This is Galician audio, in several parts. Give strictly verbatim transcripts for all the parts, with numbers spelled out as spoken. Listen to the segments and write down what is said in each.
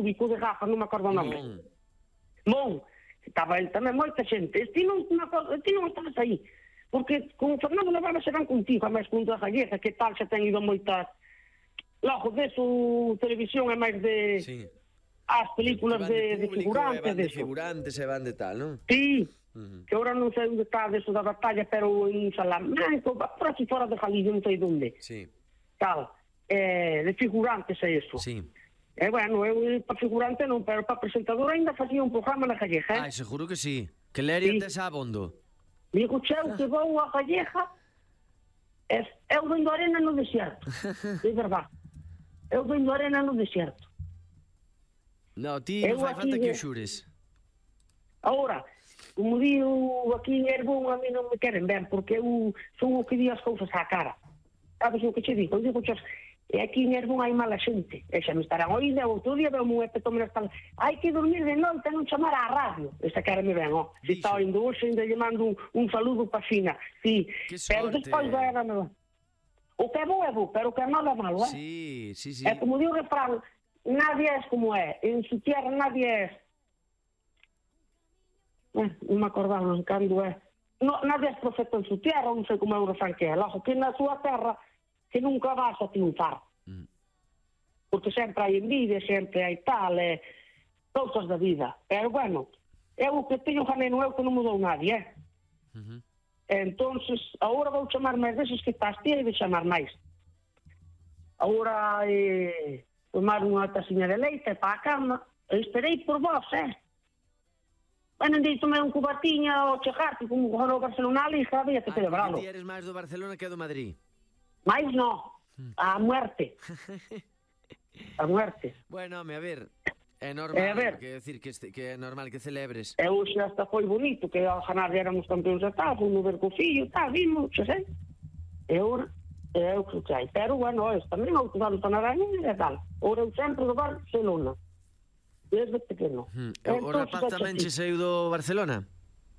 rúbico de Rafa, non me acordo o nome. Mon. Estaba el tamén moita xente. Ti non, ti non estabas aí. Porque con Fernando Navarra se van contigo, a máis con a Gallega, que tal, xa ten ido moitas... Logo, deso, televisión é máis de... Sí. As películas de, de, de figurantes. Van de figurantes e van de tal, non? Sí. Uh-huh. Que ahora non sei onde está deso da batalla, pero en Salamanca, por aquí fora de Galicia, non sei onde. Sí. Tal. Eh, de figurantes é eso. Sí. E, eh, bueno, eu para figurante non, pero para presentador ainda facía un programa na Gallega, eh? Ai, seguro que sí. Que leria sí. tes abondo. Digo, cheu, que vou a Gallega, é, eu vendo arena no desierto. É verdade. Eu vendo arena no desierto. No, ti non fai falta que o xures. Agora, como digo aquí en Herbón, a mí non me queren ver, porque eu son o que di as cousas á cara. Sabes o que che digo? Eu digo, chos, e aquí en Herbón hai mala xente. E xa me estarán oído, outro día veo un epetome nas talas. Hai que dormir de noite e non chamar á radio. Esta cara me ven, ó. Se está oindo hoxe, ainda lle mando un, un saludo pa Fina. Sí, pero despois vai a nada. O que é bo é bo, pero o que é malo é malo, eh? Sí, sí, sí. É como digo o refrán, nadie es como é. En su tierra nadie es... Eh, non me acordaba cando é. No, nadie es profeta en su tierra, non sei como é o refrán que é. Logo, que na súa terra que nunca vas a triunfar. Mm. Porque sempre hai envidia, sempre hai tal, eh, cousas da vida. Pero, bueno, eu o que teño ganeno eu que non mudou nadie, eh? Uh-huh. Entonces, agora vou chamar máis deses que estás ti e de chamar máis. Agora, eh, tomar unha taciña de leite para a cama, e esperei por vos, eh? Bueno, andei tomei un cubatiña ao chegarte, como o Barcelona ali, sabía que celebralo. Ah, ti eres máis do Barcelona que do Madrid. Mais no, a muerte. A muerte. Bueno, home, a ver, é normal, eh, ver. que decir que, este, que é normal que celebres. E hoxe hasta foi bonito, que ao ganar éramos campeóns de tal, fomos ver co fillo, tal, vimos, xa sei. E ora, eu creo que hai. Pero, bueno, es, tamén outro dado para Naraña e tal. Ora eu sempre do Barcelona. Desde pequeno. Hmm. O rapaz tamén che saiu do Barcelona?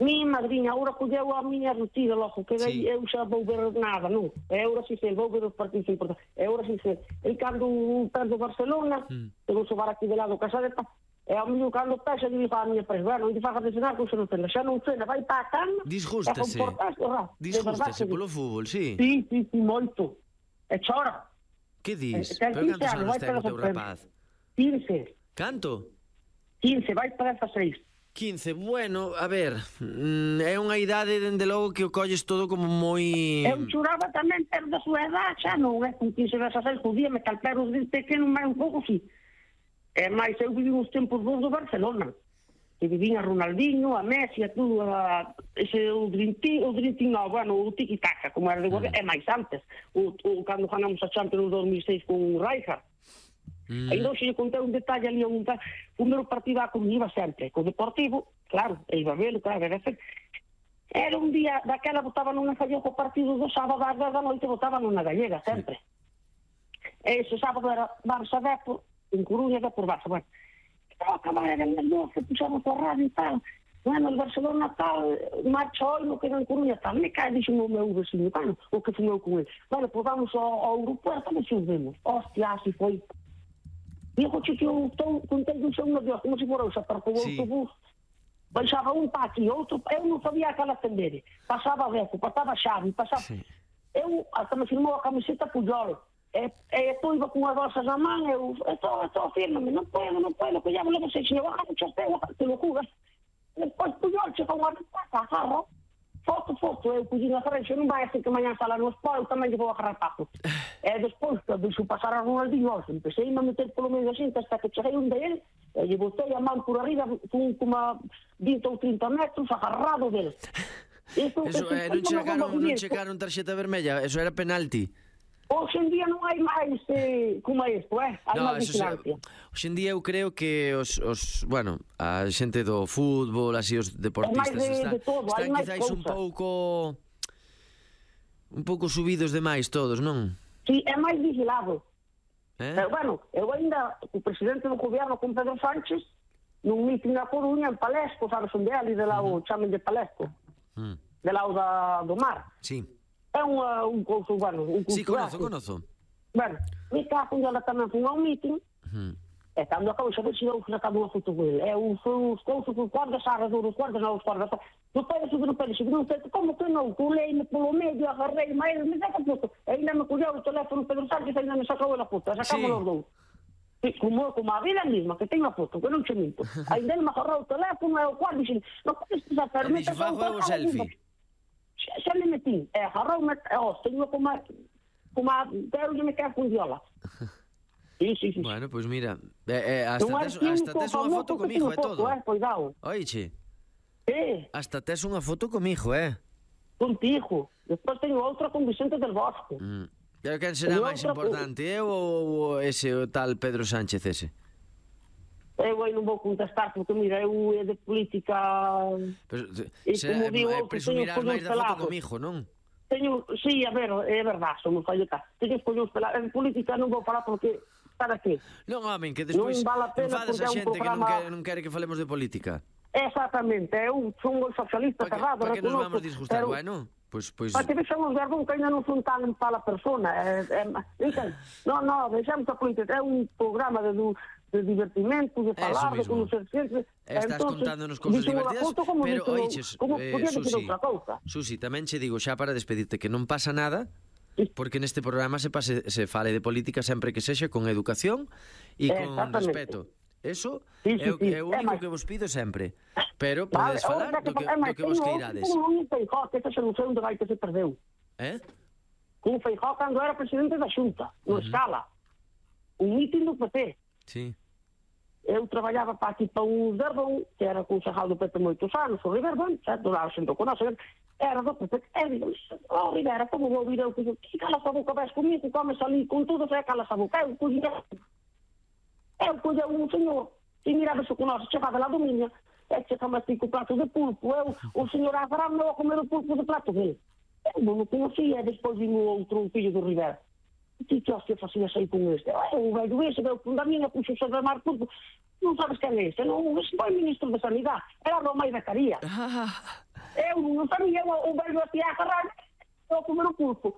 Mi madriña, agora colleu a miña rutina logo, que sí. Eu xa vou ver nada, non? E agora si sei, vou ver os partidos importantes. E agora si sei, e cando perdo Barcelona, mm. te vou sobar aquí de lado casadeta, e ao mío cando pexa, digo a miña presa, bueno, non te fagas de cenar, que xa non cena, xa non cena, vai para a cama, disgústase, disgústase polo fútbol, sí. Sí, sí, sí, moito. E chora. Que dis? Pero cantos anos ten o teu rapaz? quince. Canto? quince, vai para dezasseis. quince, bueno, a ver, é unha idade, dende logo, que o colles todo como moi... Eu choraba tamén, pero da súa edad, xa non é, con quince, dezasseis, podíame calpero de pequeno, máis un pouco, sí. E máis, eu vivi uns tempos dos do Barcelona, que vivín a Ronaldinho, a Messi, a tudo, a, ese, o Dream Team, o Dream Team, no, bueno, o tiki-taka, como era de Guardia, mm. e máis antes, o, o, cando ganamos a Champions dos mil seis con Rijkaard. Mm. Ainda hoxe lle contei un detalle ali, un ta... o meu partido a como iba sempre, co Deportivo, claro, e iba a velo, claro, era sempre. Era un día, daquela botaban unha falla co partido do sábado ás dez da noite, botaban unha gallega, sempre. Sí. E ese sábado era Barça Depor, en Coruña, Depor Barça, bueno. Ao acabar era en doce, puxamos a radio e tal, bueno, el Barcelona tal, marcha hoy, no queda en Coruña tal, me cae, dixo o meu vecino, bueno, o que fumeu con ele. Bueno, pues vamos ao, ao aeropuerto, e se os vemos. Hostia, así foi. Digo, che, que eu estou contente un segundo de Dios, como se fora o xaparto do sí. autobús. Baixaba un pa aquí, outro, eu non sabía aquela atender. Pasaba Beco, pasaba Xavi, pasaba... Sí. Eu, hasta me firmou a camiseta Puyol. E, e estou iba con as bolsas na man, eu, estou, estou, fírmame, non podo, non podo, que ya me lo sei, se eu baja mucho esteo, te lo jugas. Despois Puyol, che, con a resposta, agarro, foto, foto, eu puxi na frente, non vai a ser que mañan sala no spa, eu tamén lle vou agarrar papo. E despois, cando xo pasar a Ronaldinho, empecé a meter polo medio da xente hasta que cheguei un de ele, e lle botei a man por arriba, con como a vinte ou trinta metros, agarrado dele. Eso, eso eh, non, chegaron, non chegaron tarxeta vermella, eso era penalti. Hoxe en día non hai máis eh, como é isto, eh? Hai no, máis vigilancia. Hoxe en día eu creo que os, os bueno, a xente do fútbol, así os deportistas de, están, de todo, están quizáis un pouco un pouco subidos demais todos, non? Sí, é máis vigilado. Eh? Pero, bueno, eu ainda, o presidente do gobierno con Pedro Sánchez, nun mitin na Coruña, en Palesco, sabes onde é, ali de lá o chamen de Palesco, mm. de lá o da, do mar. Sí. É un, un couso, bueno, un cultural. Sí, conozo, conozo. Bueno, mi caso, ela tamén fun a un mitin, mm. E cando acabo xa ver se eu sacado unha foto con ele. É os cousas, os guardas, arredor, os guardas, non os guardas. Non pode subir, non pode subir, non sei, como que non? Culeime polo medio, agarrei, mas ele me saca a foto. E ainda me colleu o teléfono Pedro Sánchez, ainda me sacou a foto, sacamos Sí. os dous. Sí, como, como a vida mesma, que teño a foto, que non che minto. Ainda ele me agarrou o teléfono e o guarda e dixen, non podes pisar, pero E me dixo, fago eu o selfie. Xa, xa me metí, e agarrou-me, e ó, teño como a, como a, pero me queda con diola. Sí, sí, sí. Bueno, pois pues mira, eh, eh, hasta Non hai tes, hasta químico tes unha foto famoso que comigo, teño é foto, todo. eh, cuidado. Oiche, Eh, hasta tes unha foto comigo, eh? contigo. Despois teño outra con Vicente del Bosque. Mm. Pero quen será E máis outra importante, eu ou ese o tal Pedro Sánchez ese? Eu aí non vou contestar, porque mira, eu é de política... Pero, E se, como digo, eh, eu presumirás teño máis da foto pelados. comigo, non? Teño, sí, a ver, é verdade, somos falletas. Teño escollo os pelados. En política non vou falar porque... Para qué? Non, home, que despois Non vale a pena enfadas porque a é un xente que non programa- quere, non quere que falemos de política. Exactamente, eu son un socialista Para que, cerrado. pa que nos reconozco, vamos disgustar? pero- Bueno, pois... Pues, Para que pues, deixamos ver bon que ainda non son tan para a persona. É, é, entende? non, non, deixamos a política. É un programa de, de divertimento, de falar, de mismo. conocer xente. Estás Entonces, contándonos cousas dixo unha divertidas, foto como pero, dixo- oiches, como eh, podía dicir Susi, outra cousa. Susi, tamén che digo xa para despedirte que non pasa nada, Sí. porque neste programa se pase, se fale de política sempre que sexa con educación e con Exactamente. respeto. Eso Sí, é sí, o, sí. é o É único máis- que vos pido sempre. Pero Vale, podedes falar outra do que, é do máis, que vos teño queirades. outro como un Feijóo, que ese xa non sei onde vai que se perdeu. Eh? Un Feijóo cando era presidente da Xunta, no Escala. Un mitin do P P. Sí. Eu traballaba para aquí para un Verbón, que era concejal do P P moitos anos, o Riverdón, certo, lá xento con nós, era do P P, e digo, oh, Rivera, como vou vir eu, que que calas a boca, ves comigo, comes ali con todo, e calas a boca, eu collía, eu collía un señor, e miraba xo con nós, chegaba lá do miña, e chegaba así co plato de pulpo, eu, o señor Abraham, non a comer o pulpo de plato dele. Eu non o conocía, e despois vino outro fillo do Rivera. Ti que hostia facías aí con este? O velho ese, veu con da minha, puxo sobre a mar pulpo. Non sabes quen é ese, non? Ese foi ministro de Sanidade, era Romai Becaría. Ah, Eu non sabía, o velho a ti a agarrar, eu a comer o pulpo.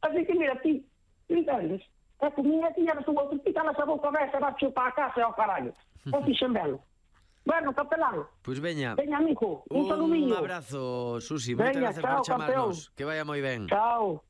Así que mira, ti, entendes? É que minha tiña na súa outra pica na sa boca, vai, se vai chupar a casa, ao caralho. O fixen velo. Bueno, capelán, pois veña. veña, amigo, un Un saludiño. abrazo, Susi. Moitas Veña, gracias chao, por chamarnos. campeón. Que vaya moi ben. Chao.